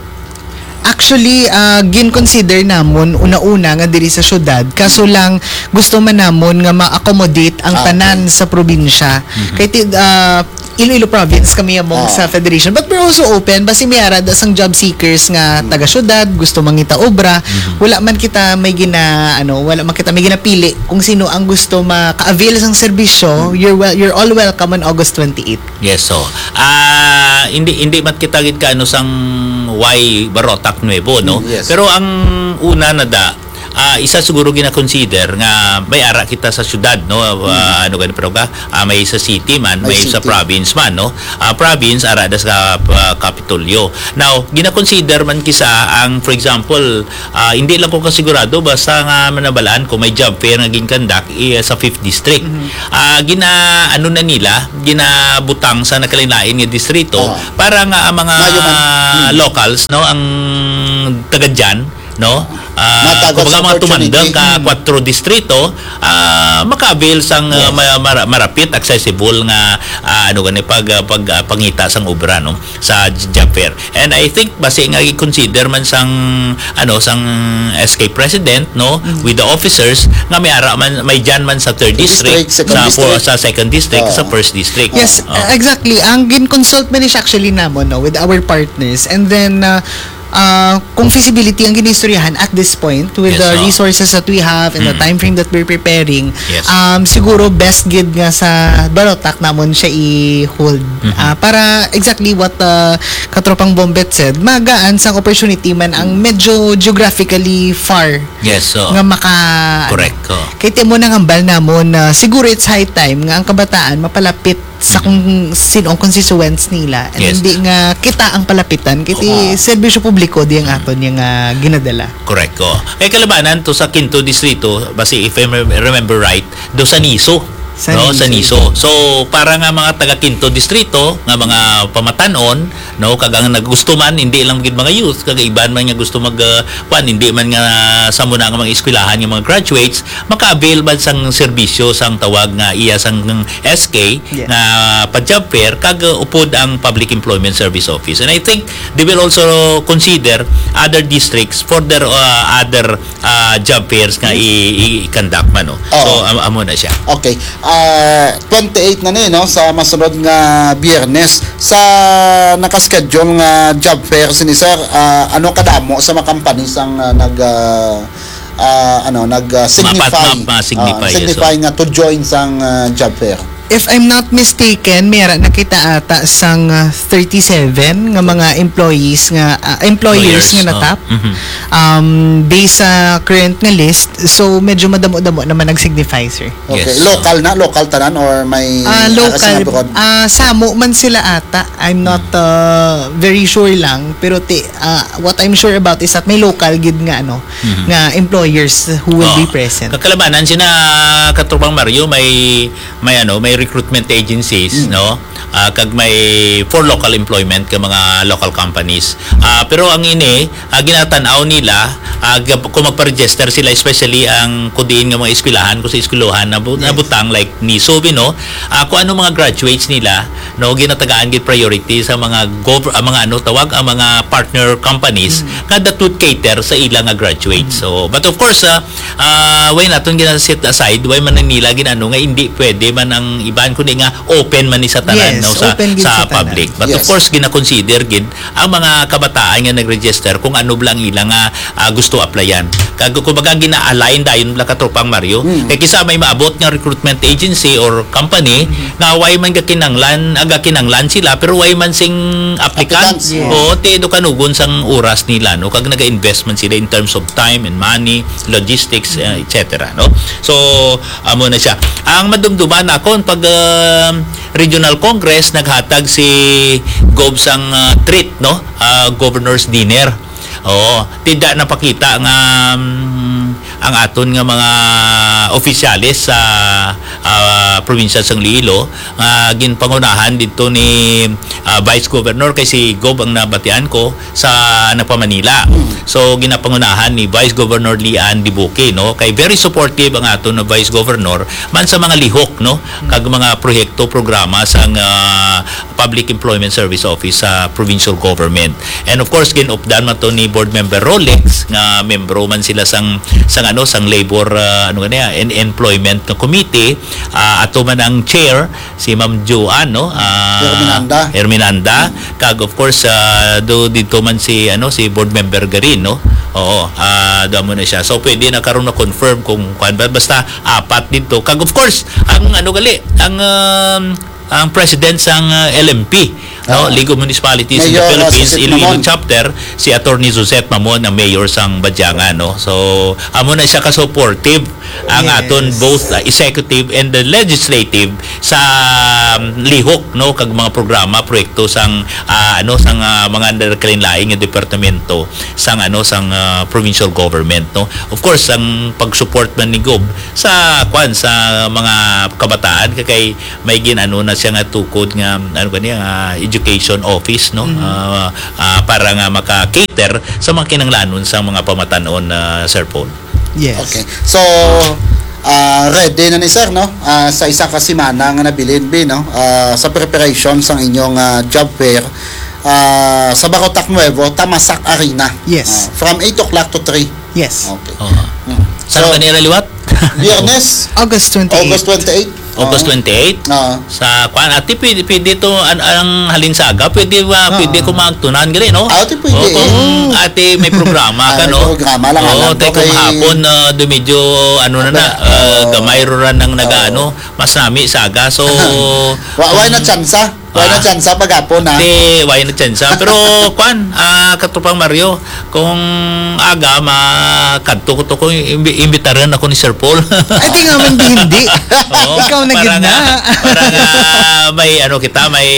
Actually, ah, gin-consider namon una-una nga diri sa syudad, kaso lang gusto man namon nga ma-accommodate ang Ah, okay. tanan sa probinsya. Mhm. Kay ti-, ah, Iloilo province kami among Ah. sa federation, but we're also open basi may ara da sang job seekers nga Mm. taga syudad gusto mangita obra. Mhm. Wala man kita may gina, ano, wala man kita may ginapili kung sino ang gusto maka-avail sang serbisyo. Mm. You're wel-, you're all welcome on August twenty-eight. Yes, so, ah, hindi, hindi man kita gid kaano sang why Barotac Nuevo, no? Mm, yes. Pero ang una na da, ah, isa siguro gina-consider nga may ara kita sa syudad, no? Ah, Mm. ano gani, pero ka, ah, may sa city man, May may sa city. province man, no? Ah, province, ara da sa, ah, Kapitolyo. Now, gina-consider man kisa ang, for example, ah, hindi lang ko kasigurado, basta nga manabalaan ko may job fair nga ginkandak, eh, sa Fifth District. Mhm. Ah, gina-, ano na nila, ginabutang sa nakalain-lain nga distrito Oo. para nga ang mga Mayo man. Mm. locals, no, ang taga dyan, no? Ah, Matagas kumbaga, mga opportunity. tumandang ka Mm. kwatro distrito, ah, maka-avail sang, ah, Yes. ma-, mara-, marapit, accessible nga, ah, ano gani, pag, ah, pag, ah, pangita sang obra, no, sa j-, job fair. And I think, basi nga i-consider man sang, ano, sang S K president, no, Mm. with the officers, nga may ara man, may dyan man sa third Third district, district, second sa district. sa second district, Oo. sa first district. Yes, Oo. uh, exactly. Ang gin-consult man is actually namon, no, with our partners. And then, uh, ah, kung feasibility ang ginistoryahan at this point, with Yes, the oo. resources that we have and the Mm. time frame that we're preparing, Yes. um, siguro best gid nga sa Barotac namon siya i-hold. Mhm. Ah, para exactly what, uh, Katropang Bombet said, magaan sang opportunity man ang Mm. medyo geographically far Yes, oo. nga maka-, Correct, oo. Kay ti mo nang hambal namon na siguro it's high time nga ang kabataan mapalapit sa Mm. kung sino ang constituents nila. And Yes. hindi nga kita ang palapitan. Kay ti Oo. serbisyo publiko di ang Mm. aton nga ginadala. Correct, oo. Kay kalabanan to sa Quinto Distrito, basi if I remember right, do sa Niso. Sa No, Niso. sa Niso. So, para nga mga taga Quinto Distrito, nga mga pamatanon, no, kag ang naggusto man, hindi lang gid mga youth, kag iban man nga gusto mag, uh, kwan, hindi man nga sa muna nga mga eskwelahan, nga mga graduates, maka-avail man sang serbisyo sang tawag nga iya sang S K Yes. nga pa-job fair, kag, uh, upod ang Public Employment Service Office. And I think they will also consider other districts for their, uh, other, uh, job fairs nga i-, i-, i-conduct man, no? Oo. So, am-, amo na siya. Okay. Ah, twenty-eight na ni, no, sa masunod nga Biyernes. Sa naka-schedule nga job fair sini, sir, ah, ano kadamo sa mga companies ang, ah, nag, ah, ah, ano, nag, ah, signify? Mapat-, ma-, ma-signify, Ah, yes, signify sir. nga to join sang, ah, job fair. If I'm not mistaken, may ara na kita ata sang, ah, thirty-seven nga mga employees nga, ah, employers Employers, nga oh. natap. Mhm. Um, based sa current nga list, so medyo madamo-damo naman nag-signify, sir. Okay, Yes. local na, local tanan or may Ah, ara sa local. abroad? Ah, samo man sila ata. I'm not, Mm. uh, very sure lang, pero ti-, uh, what I'm sure about is that may local gid nga, ano, Mhm. nga employers who will be Oh. present. Kakalabanan sina Katropang Mario, may, may, ano, may recruitment agencies, Mm. no? Ah, kag may for local employment ka mga local companies. Ah, pero ang ini, ah, ginatan-aw nila, ah, gab-, kung magpa-register sila, especially ang kudiin nga mga eskwelahan, kung sa eskwelahan na bu-, Yes. nabutang like ni Sobe, no? Ah, kung ano mga graduates nila, no, ginatagaan gid priority sa mga gov-, ah, mga ano tawag, ang mga partner companies Mm. nga that would cater sa ila nga graduates. Mm. So, but of course, ah, ah, why naton gina-set aside, why man nila ginano nga hindi pwede man ang iban, kundi nga open man ni sa tanan, Yes, no, sa, open gid sa sa tanan. public. But of Yes. course, gina-consider gid ang mga kabataan nga nag-register kung ano lang ila nga, ah, gusto applyan. Kag kumbaga gina-align dayon lang, Katropang Mario. Mm. Kay kisa may maabot nga recruitment agency or company Mm-hmm. nga way man gakinanglan, ah, gakinanglan sila pero way man sing applicants. Applicants, yeah. Oo, ti do kanugon sang oras nila, no? Kag naga-invest man sila in terms of time and money, logistics, uh, et cetera, no? So, amo na siya. Ang madumduman nakon pag, um, Regional Congress naghatag si Gov sang, uh, treat, no? Uh, Governor's Dinner. Oo, tida napakita nga, um, ang aton nga mga opisyales sa, uh, probinsya sang Iloilo nga ginpangunahan didto ni, uh, Vice Governor, kay si Gov ang nabatian ko sa nagpa-Manila. Mm. So, ginapangunahan ni Vice Governor Lian Dibuki, no? Kay very supportive ang aton na Vice Governor man sa mga lihok, no? Mm. Kag mga proyekto, programa sang, ah, Public Employment Service Office sa provincial government. And of course, gin-updan man to ni Board Member Rolex, nga membro man sila sang, sang ano, sang labor, ah, ano gani, ah, and employment nga committee. Ah, ato man ang chair, si Ma'am Joan, no? Ah, Herminanda. Herminanda. Mm. Kag, of course, ah, do dito man si, ano, si board member Garin, no? Oo, ah, do mo na siya. So, pwede na karon na-confirm kung kuwan ba. Basta, apat dito. Kag, of course, ang, ano, gali, ang, um, ang president sang, ah, L M P, no? Ah. League of Municipalities in the Mayor, ah, Philippines, Sosette Iloilo Mamon. Chapter, si Attorney Sosette Mamon, ang mayor sang Badiangan, no? So, amo na siya ka-supportive ang Yes. aton both, uh, executive and the legislative sa, um, lihok, no, kag mga programa, proyekto sang, uh, ano, sang, uh, mga nagkalain-lain nga departamento sang, ano, sang, uh, provincial government, no. Of course, ang pag-support man ni Gob sa, kwan, sa mga kabataan, kay, kay may gin-ano na siya nga tukod nga, ano ba niya, uh, education office, no, Mhm. uh, uh, para nga maka-cater sa mga kinahanglanon sa mga pamatan-on, uh, Sir Paul. Yes. Okay. So, ah, ready na ni sir, no? Ah, sa isa ka semana nga nabilin, bi, no? Ah, sa preparation sang inyong, ah, job fair, ah, sa Barotac Nuevo, Tamasak Arena. Yes. Ah, from eight o'clock to three. Yes. Okay. Oo. Mm. Saan So, ka nila liwat? Biyernes, August twenty-eight. August twenty-eight. August Oo. twenty-eight? Oo. Sa kwan, ati, pwede, pwede to, an-, ang halin sa aga, pwede ba, Oo. pwede ko magtunan gali, no? Ah, ati, pwede Oo, eh. kung Mm. ati may programa Ah, ka, may no? programa lang, Oo, alam ko tay kung kay hapon, ah, do medyo, ano na Aba, na, ah, oo. gamay ro ra nang naga, Oo. ano, mas nami sa aga. So, Wa-, wala na kung tsansa. Wala na Ah. tsansa pag hapon, ha? Di, wala na tsansa. Pero, kwan, ah, Katropang Mario, kung aga, makadto ko to, kung imbi-, imbitaran ako ni Sir Paul. Ay, di nga man, di hindi. Oo, Ikaw na para gid nga, na. para nga may, ano kita, may,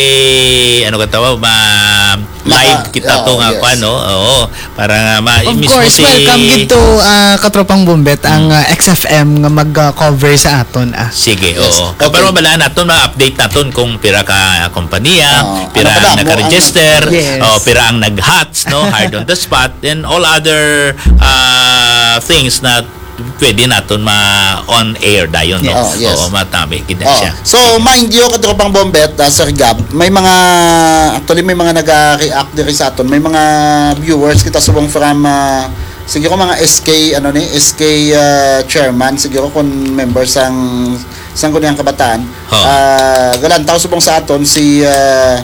ano ka tawag, ma-, Maka-, live kita to oo, nga, yes. kwan, no? Oo, para nga ma-, Of mismo course, si welcome gid to, ah, Katropang Bombet, ang, Mm. ah, X F M nga mag, ah, cover sa aton, ah. Sige, Yes. oo. Okay. Pero mabalaan naton, ma-update naton kung pira ka kompanya, Oo. pira Ano pa ang damo ang naka-register, Yes. oh, pira ang nag-hots, no, hired on the spot, and all other, ah, things na pwede naton ma-on air dayon, no? Yes. Oh, yes. Oo, matabi gid na Oh, siya. So, mind you, Katropang Bombet, ah, Sir Gab, may mga, actually, may mga naga-react diri sa aton. May mga viewers kita subong from, ah, siguro mga S K, ano ni, S K, ah, chairman, siguro kung member sang, sang Sangguniang Kabataan. Oh. Ah, galantaw subong sa aton si, ah,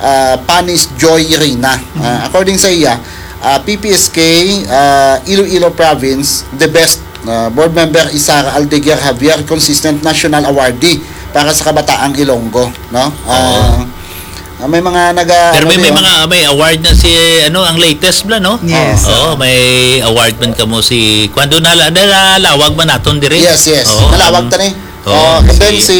ah, Panis Joy Reyna. Ah, Mm. according sa iya, ah, P P S K, ah, Iloilo Province, the best. Ah, Board Member Isara Aldeguer Javier, consistent national awardee. para sa kabataang Ilonggo, no? Oo. Ah, ah, may mga naga-, Pero ano may, may diyon? Mga, may award na si, ano, ang latest bala, no? Yes. Oo, may award man kamo si, kuwan, doon, nala-, nalalawag man naton diri. Yes, yes. Oo, nalawag ang ta ni. Oo, Oh, and then si si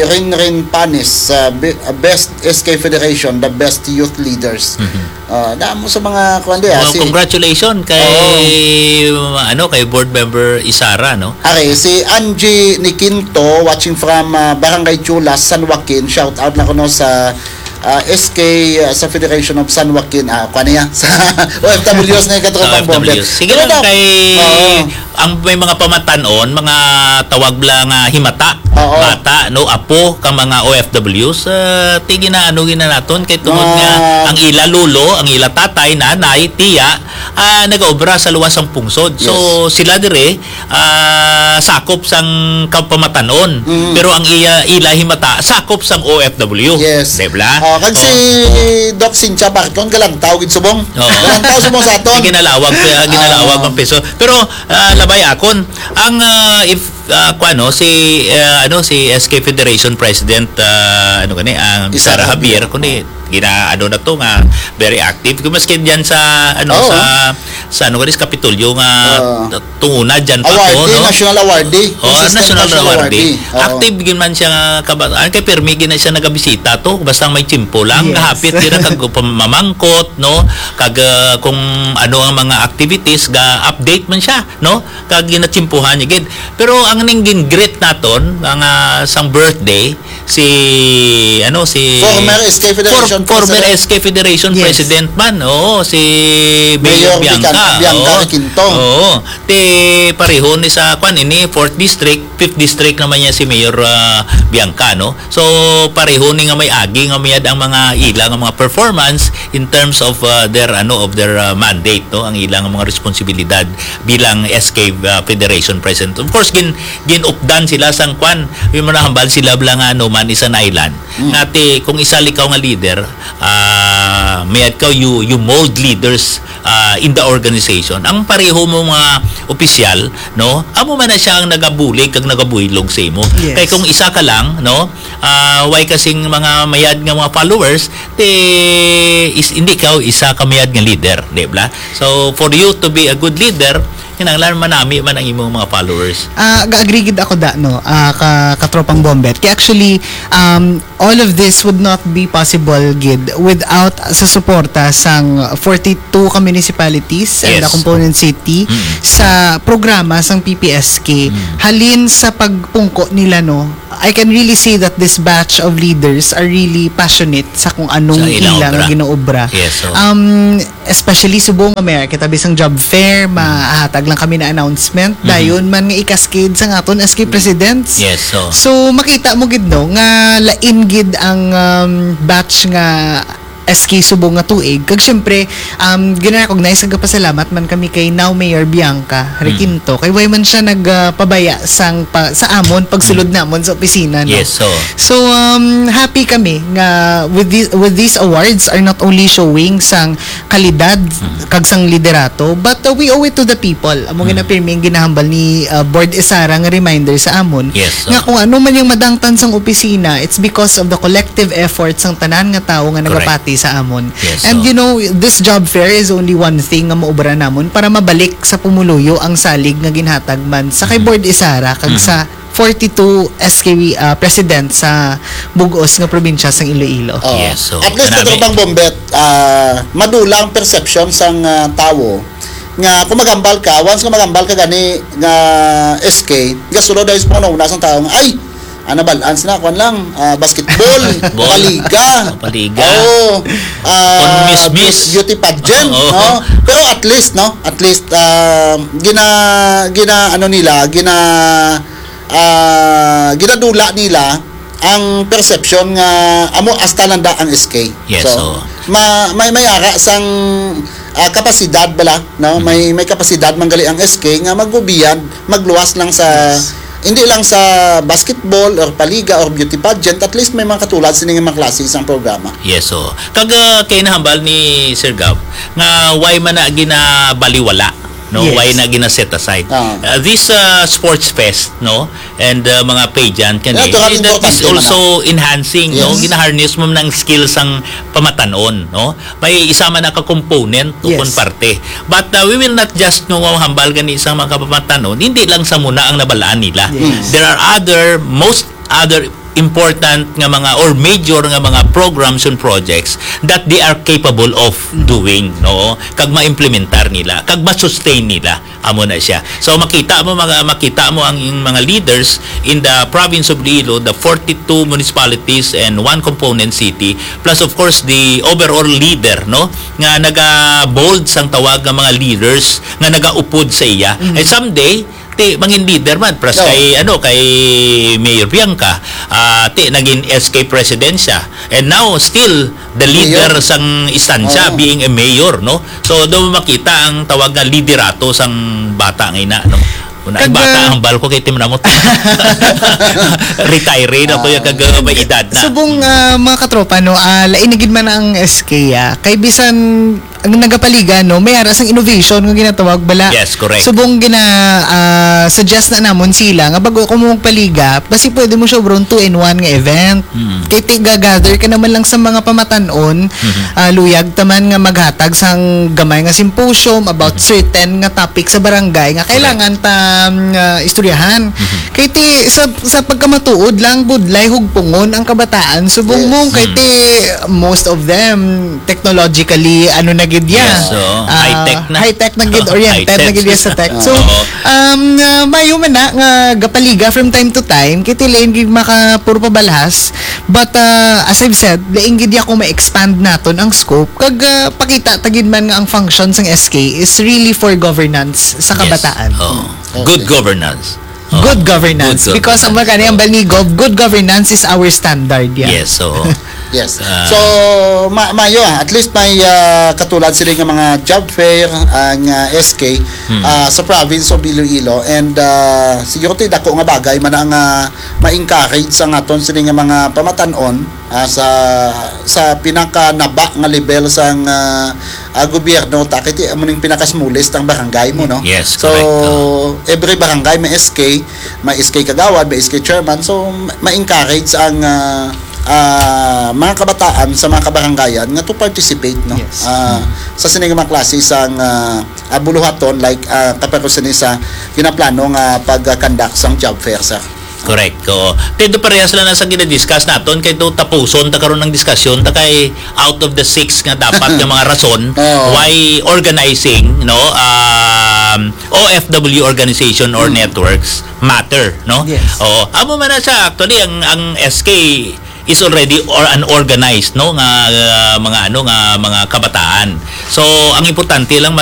Rin Rin Panis, uh, be-, uh, Best S K Federation, the best youth leaders. Mhm. Ah, damo sa mga, kuwan di, ah, Well, si congratulations kay, Oo. ano, kay Board Member Isara, no? Okay, si Angie Niquinto, watching from, ah, Barangay Chulas, San Joaquin. Shout out na kuno sa, ah, S K, ah, sa Federation of San Joaquin. Ah, kuwan niya, sa O F Ws nga katropang Sa O F Ws. Bomber. Sige Pero lang daw, kay Oo. ang may mga pamatanon, mga tawag lang nga himata, Oo. bata, no, apo, ka mga O F Ws, ah, ti ginaano gina naton kay tungod Mga nga ang ila lolo, ang ila tatay, nanay, tiya, ah, nagaobra sa luwas sang pungsod. So, Yes. sila dire, ah, sakop sang kapamatanon. Mm. Pero ang iya, ila himata, sakop sang O F W. Yes. Di ba? Oh, kag si Oh. Doc Cynthia Barcon, galantaw gid subong. Oo. Galantaw subong sa aton. Ginalawag, ah, ginalawag Ah. ang piso. Pero, ah, labay akon, ang, ah, if, ah, kuwan, no, si, ah, ano, si S K Federation President, ah, ano gani, ang Isara Isara Javier, Javier. kundi gina-, ano na to nga, very active. Kung maski diyan sa, ano, Oo. sa, sa, ano gani, sa Kapitolyo nga, Oo. tunguna diyan pa Awardee, to, no? National Awardee. Oo, Consistent National National Awardee. Awardee. Oo. Active gyud man siya nga kabataan. Kay pirmi gyud na siya nagabisita to. Basta may tiyempo lang, Yes. gahapit gyud na kag pamamangkot, no? Kag, ah, kung ano ang mga activities, ga-update man siya, no? Kag ginatiyempohan niya gid. Pero ang ning gin-greet naton, ang, ah, sang birthday, si, ano, si Former S K Federation for-, former President. S K Federation Yes. President man, oo, si Mayor Mayor Bianca. Bican-, Bianca Oo. Requinto. Oo. Ti pareho ni sa, kwan, ini, fourth District, fifth District naman niya si Mayor, ah, Bianca, no? So, pareho ni nga may agi nga mayad ang mga ila nga mga performance in terms of, ah, their, ano, of their, ah, mandate, no? Ang ila nga mga responsibilidad bilang S K, ah, Federation President. Of course, gin-, gin-updan sila sang kwan, yung manahambal sila bala nga, ano, man is an island. Mm. Nga ti, kung isa likaw nga leader, ah, mayad ka, you, you mold leaders, ah, in the organization. Ang pareho mo mga opisyal, no? Amo man na siya ang nagabulig kag nagabuylog sa imo. Yes. Kay kung isa ka lang, no? Ah, way kasing mga mayad nga mga followers, ti is, hindi ka isa ka mayad nga leader, di ba? So, for you to be a good leader, kinahanglan manami man ang imong mga followers. Ah, ga-agree gid ako da, no, ah, ka, katropang Bombet. Kaya actually, um, all of this would not be possible gid without sa suporta sang forty-two ka municipalities and the Yes. component city Mm. sa programa sang P P S K. Mm. Halin sa pagpungko nila, no, I can really see that this batch of leaders are really passionate sa kung anong Sa ilang ila nga obra. ginaobra. Yes, so. Um, especially subong nga may kita bisang job fair, mahatag lang kami na announcement, Mhm. dayon man nga i-cascade sa aton S K presidents. Yes, so. So, makita mo gid, no, nga lain gid ang, um, batch nga S K subong nga tuig. Kag syempre, um, gina-recognize kag pasalamat man kami kay now Mayor Bianca Mm. Requinto. Kay way man siya nagpabaya sang pa, sa amon pagsulod Mm. namon sa opisina, no? Yes, so. So, um, happy kami nga with the, with these awards are not only showing sang kalidad Mm. kag sang liderato, but, uh, we owe it to the people. Amo Mm. gina pirmi ang ginahambal ni, uh, Board Isara nga reminder sa amon Yes, so. nga kung ano man yung madangtan sang opisina, it's because of the collective effort sang tanan nga tawo nga Correct. nagapati sa amon. Yes, And so. you know, this job fair is only one thing nga maubra namon para mabalik sa pumuluyo ang salig nga ginhatag man sa kay Mm. Board Isara kag Mm. sa forty-two S K, ah, president sa bug-os nga probinsya sang Iloilo. Oh. Yes, so, At least, grabe. Katropang Bombet, ah, madula ang perception sang, ah, tawo nga kung maghambal ka, once nga maghambal ka gani nga S K, gasulod dayon sa panghunahuna sang tawo nga, "Ay, ana balance na, kwan lang, ah, basketball, Ball. paliga." Oh, paliga. Oo. Ah, Kung miss, miss. beauty pageant, Oo. no? Pero at least, no? At least, ah, gina-, gina-, ano nila, gina-, ah, ginadula nila ang perception nga amo hasta nanda ang S K. Yes, So, so. ma-, may, may ara sang, ah, kapasidad bala, no? Mm. May, may kapasidad man gali ang S K nga magbubiyag, magluwas lang sa, Yes. hindi lang sa basketball or paliga or beauty pageant, at least may mga katulad sini nga mga klase sang programa. Yes, so. Kag, ah, kay nahambal ni Sir Gab nga why man na ginabaliwala no? Yes. Why na gina-set aside? Ah. Uh, this, uh, sports fest, no? And, uh, mga pageant, kani, Natural, that importante is man also na. enhancing, no? Yes. Gina-harness mo ng skills ang pamatanon, no? May isa man na ka component o Yes. kon parte. But, uh, we will not just, no, hambal gani sa mga kapamatanon. Hindi lang sa muna ang nabalaan nila. Yes. There are other, most other important nga mga or major nga mga programs and projects that they are capable of Mm. doing, no? Kag ma-implementar nila, kag ma-sustain nila. Amo na siya. So, makita mo, mga, makita mo ang, yung mga leaders in the province of Iloilo, the forty-two municipalities and one component city, plus of course the overall leader, no, nga naga-bold sang tawag nga mga leaders nga nagaupod sa iya. Mm. Eh, someday, ti mangin leader man, plus No. kay, ano, kay Mayor Bianca, ah, ti naging S K president siya. And now, still the leader Mayor. sang istansya, Oo. being a mayor, no? So, do makita ang tawag nga liderato sang bata nga ina, no? Una, ang Kag, bata ah, ang hambal ko kay Tim Ramot. Retire na ko yung Ah. kag, uh, may edad na. Subong, ah, mga katropa, no, ah, lain na gid man ang S K, ah. Kay bisan ang nagapaliga, no, may ara sang innovation nga ginatawag bala. Yes, correct. Subong gina, ah, suggest na namon sila nga bago ko mo magpaliga, basi pwede mo siya, bro, two-in-one nga event. Mm. Kay ti-, ga-gather ka naman lang sa mga pamatanon, Mhm. ah, luyag taman nga maghatag sang gamay nga symposium about Mhm. certain nga topic sa barangay nga Correct. kailangan ta, mm, ah, istoryahan. Mhm. Kay ti, sa, sa pagkamatuod lang, budlay hugpungon ang kabataan. Subong Yes. mo, kay Mm. ti, most of them, technologically, ano na gid ya? Yes, oo. Ah, High-tech na. high-tech na gid, oriented na High-tech. gid ya sa tech. So, Oo. um, ah, mayo man na nga gapaliga from time to time, kay ti lain gid maka puro pabalhas. But, ah, as I've said, lain gid ya kung ma-expand naton ang scope. Kag, ah, pakita ta gid man nga ang function sang S K is really for governance sa Yes. kabataan. Oo. Okay. Good governance. Oo. Good governance. Good Because ang governance. mga kani ang Oo. bal ni Gov, good governance is our standard, yeah. Yes, oo. Yes. Ah. So, ma-, mayo, ah, at least may, ah, katulad sila nga mga job fair ang, ah, S K, Hmm. ah, sa province of Iloilo. And, ah, siguro ti dako nga bagay man ang, ah, ma-encourage sa aton sila nga mga pamatanon, ah, sa, sa pinakanaba nga level sang, ah, ah, gobyerno, ta kay ti amo ning pinakasmallest ang barangay mo, no? Yes, So, correct. Oo. every barangay may S K, may S K kagawad, may S K chairman. So, ma-, ma-encourage ang, ah, ah, mga kabataan sa mga kabarangayan nga to participate, no? Yes. Ah, Mm. sa sini nga mga klase sang, ah, ah, buluhaton, like, ah, kapag sini sa ginaplano nga pag-conduct sang job fair, sir. Correct. Oo. Kay do parehas lang na sa gina-discuss naton, kay do tapuson ta karon ang diskusyon ta kay out of the six nga dapat nga mga rason Oo. why organizing, no, um, O F W organization or Mm. networks matter, no? Yes. Oo. Amo man na siya, actually, ang, ang S K is already or unorganized, no, nga, uh, mga, ano, nga mga kabataan. So, ang importante lang mas